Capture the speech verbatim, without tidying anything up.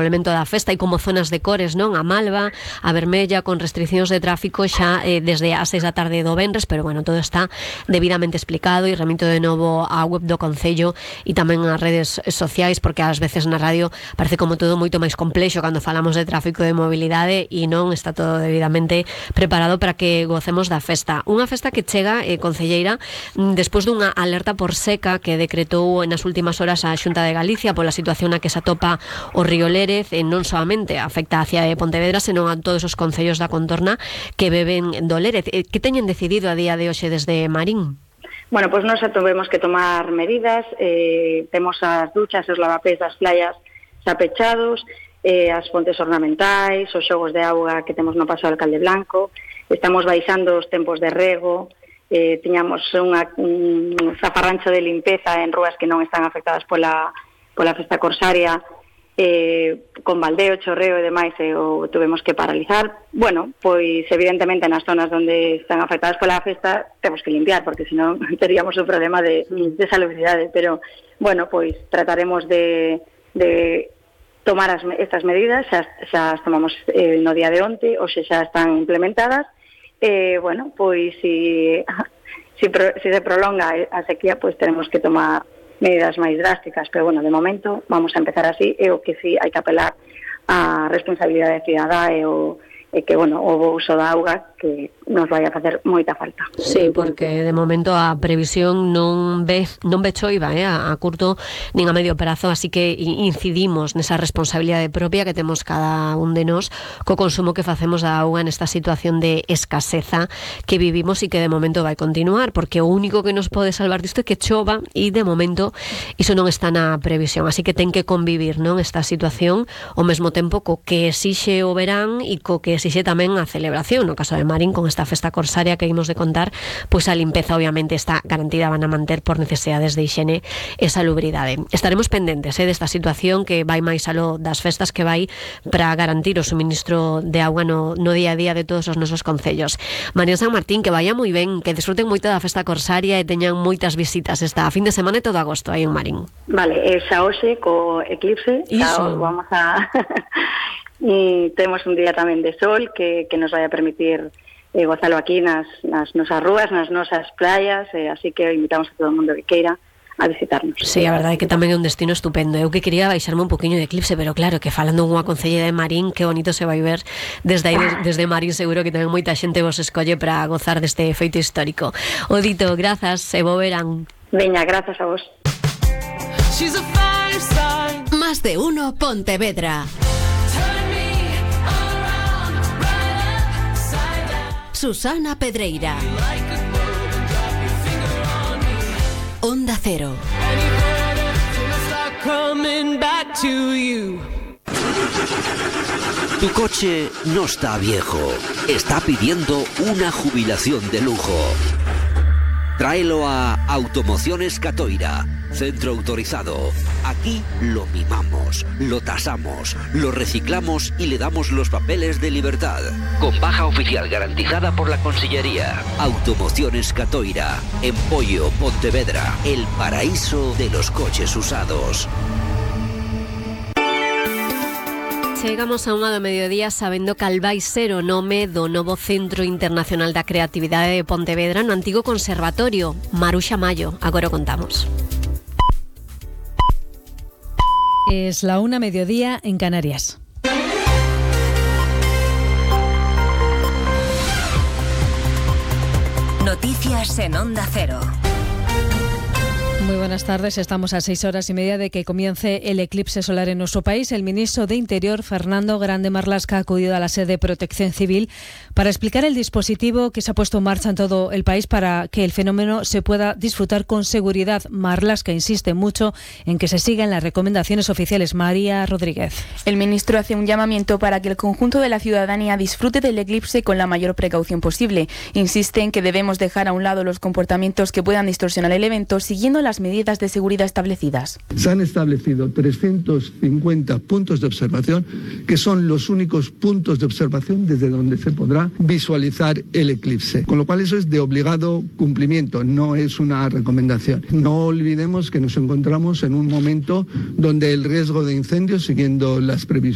elemento da festa e como zonas de cores, non? A malva, a vermella, con restriccións de tráfico xa eh, desde as seis da tarde do venres, pero bueno, todo está debidamente explicado e remito de novo á web do Concello e tamén ás redes sociais, porque ás veces na radio parece como todo moito máis complexo cando falamos de tráfico e de mobilidade e non está todo debidamente preparado para que gocemos da festa. Unha festa que chega, eh, concelleira, despois dunha alerta por seca que decretou nas últimas horas a Xunta de Galicia pola situación na que se atopa o río Lérez, e non solamente afecta a cidade de Pontevedra, senón a todos os concellos da contorna que beben do Lérez. Que teñen decidido a día de hoxe desde Marín? Bueno, pois pues nós tuvemos que tomar medidas, eh, temos as duchas e os lavapés das playas xa pechados, eh, as fontes ornamentais, os xogos de auga que temos no Paso do Alcalde Blanco, estamos baixando os tempos de rego, eh, tiñamos unha, un zafarrancho de limpeza en rúas que non están afectadas pola, pola festa corsaria, eh, con baldeo, chorreo e demais, e o tuvemos que paralizar. Bueno, pois evidentemente nas zonas onde están afectadas pola festa temos que limpiar, porque senón teríamos un problema de, de salubridade, pero bueno, pois trataremos de, de tomar as, estas medidas, xa, xa as tomamos eh, no día de onte, hoxe xa están implementadas, e eh, bueno, pois si, si, pro, si se prolonga a sequía, pois tenemos que tomar medidas máis drásticas, pero bueno, de momento vamos a empezar así, e o que sí hai que apelar a responsabilidade cidadá e o e que, bueno, o bo uso da auga que nos vai a facer moita falta. Sí, porque de momento a previsión non ve non ve choiva, eh, a, a curto nin a medio prazo, así que incidimos nesa responsabilidade propia que temos cada un de nós co consumo que facemos da auga nesta situación de escaseza que vivimos e que de momento vai continuar, porque o único que nos pode salvar disto é que chova e de momento iso non está na previsión, así que ten que convivir, non, esta situación ao mesmo tempo co que exixe o verán e co que exixe tamén a celebración. No caso de Marín, con esta festa corsaria que imos de contar, pois a limpeza obviamente está garantida, van a manter por necesidades de higiene e salubridade. Estaremos pendentes eh, desta situación que vai máis aló das festas, que vai para garantir o suministro de auga no, no día a día de todos os nosos concellos. María San Martín, que vaya moi ben, que disfruten moito da festa corsaria e teñan moitas visitas esta fin de semana e todo agosto aí en Marín. Vale, e xa hoxe co eclipse, xa vamos a e temos un día tamén de sol que, que nos vai a permitir eh, gozalo aquí nas, nas nosas rúas, nas nosas playas, eh, así que invitamos a todo o mundo que queira a visitarnos. Sí, a verdade é que tamén é un destino estupendo. Eu que quería baixarme un poquinho de eclipse, pero claro, que falando unha concelleira de Marín, que bonito se vai ver desde aí, desde Marín, seguro que tamén moita xente vos escolle para gozar deste feito histórico. Odito, grazas e bo verán. Veña, grazas a vos. Más de uno Pontevedra. Susana Pedreira. Onda Cero. Tu coche no está viejo, está pidiendo una jubilación de lujo. Tráelo a Automociones Catoira, centro autorizado. Aquí lo mimamos, lo tasamos, lo reciclamos y le damos los papeles de libertad. Con baja oficial garantizada por la Consellería. Automociones Catoira, en Pollo, Pontevedra, el paraíso de los coches usados. Chegamos a unha do mediodía sabendo cal vai ser o nome do novo Centro Internacional da Creatividade de Pontevedra no antigo conservatorio. Maruxa Mayo, agora o contamos. Es la una mediodía en Canarias. Noticias en Onda Cero. Muy buenas tardes. Estamos a seis horas y media de que comience el eclipse solar en nuestro país. El ministro de Interior, Fernando Grande Marlaska, ha acudido a la sede de Protección Civil para explicar el dispositivo que se ha puesto en marcha en todo el país para que el fenómeno se pueda disfrutar con seguridad. Marlaska insiste mucho en que se sigan las recomendaciones oficiales. María Rodríguez. El ministro hace un llamamiento para que el conjunto de la ciudadanía disfrute del eclipse con la mayor precaución posible. Insiste en que debemos dejar a un lado los comportamientos que puedan distorsionar el evento, siguiendo las medidas de seguridad establecidas. Se han establecido trescientos cincuenta puntos de observación, que son los únicos puntos de observación desde donde se podrá visualizar el eclipse, con lo cual eso es de obligado cumplimiento, no es una recomendación. No olvidemos que nos encontramos en un momento donde el riesgo de incendios, siguiendo las previsiones